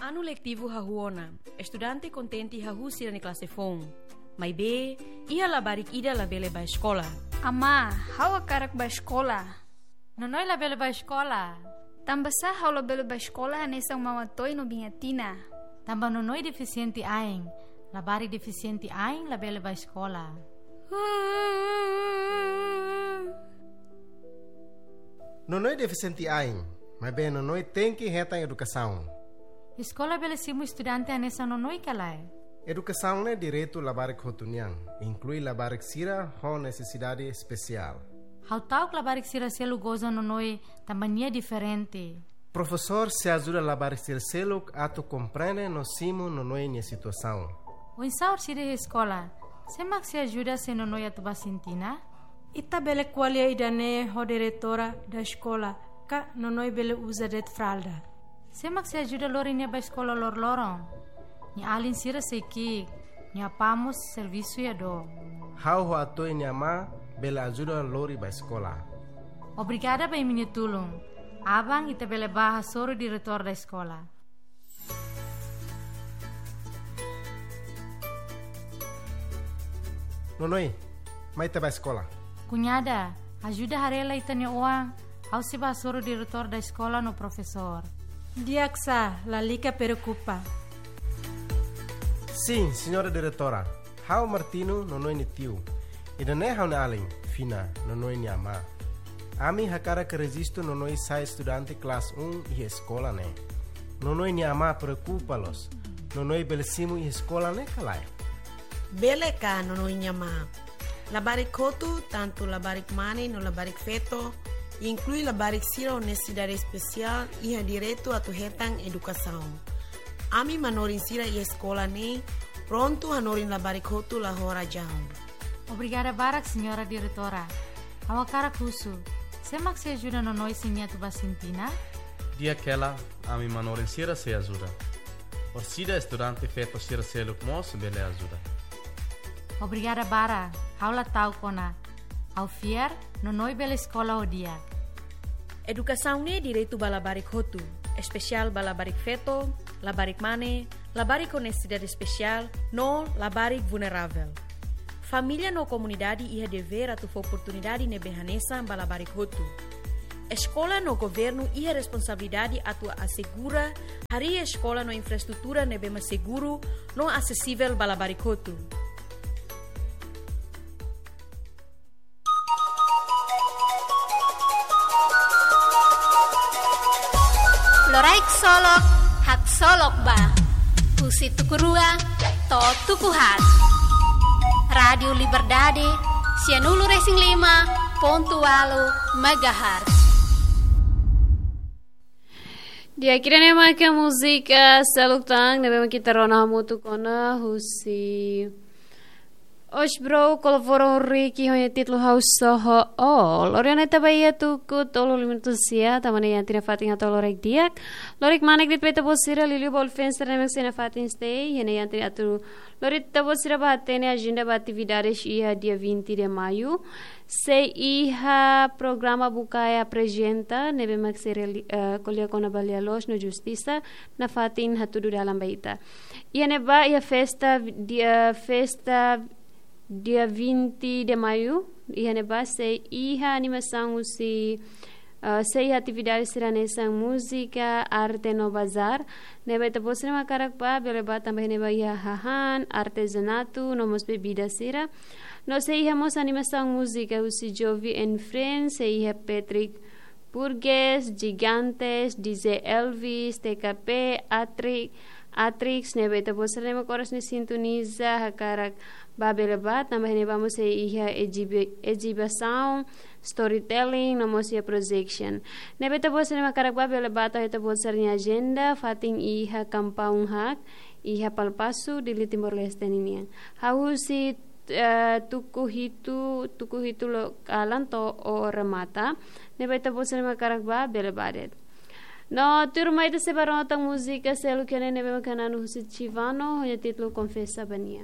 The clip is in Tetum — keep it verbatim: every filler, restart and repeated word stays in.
Anu letivu hahú ona, estudante kontente hahú sira-nia klase foun. Maibé, iha labarik ida labele bá eskola. Amá, ha'u hakarak bá eskola. Nonoi labele bá eskola. Tanbasá ha'u labele bá eskola hanesan maun Atoy no biin Atina? Tanba Nonoi defisiente ain. Labarik defisiente ain labele bá eskola. Nonoi defisiente ain, maibé Nonoi tenke hetan edukasaun. Eskola bele simu estudante hanesan Nonoi ka lae? Edukasaun ne'e direitu labarik hotu nian, inklui labarik sira ho nesesidade espesiál. Ha'u ta'uk labarik sira seluk goza Nonoi tanba nia diferente. Profesór sei ajuda labarik sira seluk atu komprende no simu Nonoi nia situasaun. Oinsá orsida iha eskola? Sé mak sei ajuda se Nonoi atu bá sintina? Ita bele ko'alia ida-ne'e ho diretora da eskola, ka Nonoi bele uza de'it fralda. Sé mak sei ajuda lori nia bá eskola loroloron? Nia alin sira sei ki'ik, nia apá mós servisu iha dook. Ha'u ho Atoy nia amá bele ajuda lori bá eskola. Obrigada ba imi-nia tulun. Aban ita bele bá hasoru diretór da eskola. Nonoi, mai ita bá eskola. Kuñada, ajuda haree lai ita-nia oan, ha'u sei bá hasoru diretór da eskola no profesór. Di'ak sá, lalika preokupa. Sin, señora diretora. Ha'u Martino, Nonoi nia tiu. Ida-ne'e ha'u-nia alin, Fina, Nonoi nia amá. Ami hakarak rejistu Nonoi sai estudante klase um iha eskola ne'e. Nonoi nia amá preokupa loos. Nonoi bele simu iha eskola ne'e ka lae? Bele ka, Nonoi nia amá. Labarik hotu, tantu labarik mane no labarik feto, inklui labarik sira ho nesesidade espesiál, iha direitu atu hetan edukasaun. Ami manorin sira iha eskola ne'e prontu hanorin labarik hotu la ho razaun. Obrigada barak, señora diretora. Ha'u hakarak husu, sé mak sei ajuda Nonoi se nia atu bá sintina? Di'ak hela, ami manorin sira sei ajuda. Orsida estudante feto sira seluk mós bele ajuda. Obrigada barak, ha'u la ta'uk ona. Ha'u fiar, Nonoi bele eskola ho di'ak. Edukasaun ne'e direitu ba labarik hotu, espesiál ba labarik feto, labarik mane, labarik ho nesesidade espesiál, no labarik vulneravel. Família no komunidade iha devér atu fó oportunidade ne'ebé hanesan ba labarik hotu. Eskola no governu iha responsabilidade atu asegura harii eskola no infraestrutura ne'ebé mak seguru no asesivel ba labarik hotu. Loraik solok, haksolok ba. Husi tuku rua to'o tuku haat. Rádiu Liberdade, sianulu resin lima pontu ualu megahertz. Di'ak, ida-ne'e maka múzika seluk tan ne'ebé mak ita rona hamutuk ona husi Osh Bro, Koloforo Riki, ho nia títulu Ha'u Só Ho Ó. Lori ona ita ba iha tuku tolu lima sia, tanba ne'e iha tiha ona fatin atu loraik di'ak. Loraik manek de'it ba ita-boot sira, liuliu ba ulufeen sira ne'ebé mak sei iha fatin state, iha ne'e iha tiha ona atu lori ita-boot sira ba hatene ajenda ba atividades iha dia vinte de maio. Sei iha programa Bukae Aprezenta, ne'ebé mak sei reali-, eh, ko'alia kona-ba lia-loos no justisa, nafatin hatudu dalan ba ita. Iha ne'ebá, iha festa, dia, festa dia vinte de maio, iha ne'ebá sei iha animasaun husi, ah, sei iha atividade sira hanesan múzika, arte no bazar. Ne'ebé ita-boot sira mak hakarak bá, bele bá tanba iha ne'ebá iha hahán, artezanatu, no mós bebida sira. No sei iha mós animasaun múzika husi Jovi and Friends, sei iha Patrick Burgess, Gigantes, D J Elvis, T K P, Atri-, Atrix, ne'ebé ita-boot sira ne'ebé mak oras ne'e sintoniza, hakarak bá bele bá, tanba iha ne'ebá mós sei iha exibi-, exibisaun, storytelling, no mós iha projection. Ne'ebé ita-boot sira ne'ebé mak hakarak bá bele bá tau iha ita-boot sira-nia ajenda, fatin iha Kampaung Hak, iha Palpasu, Dili, Timor-Leste ninian. Hahú husi eh, tuku hitu, tuku hitu loron kalan to'o remata. Ne'ebé ita-boot sira ne'ebé mak hakarak bá, bele bá de'it. No, tuirmai ita sei bá rona tan múzika seluk iha ne'e ne'ebé mak hananu husi Chivano, ho nia títulu Konfesa ba Nia.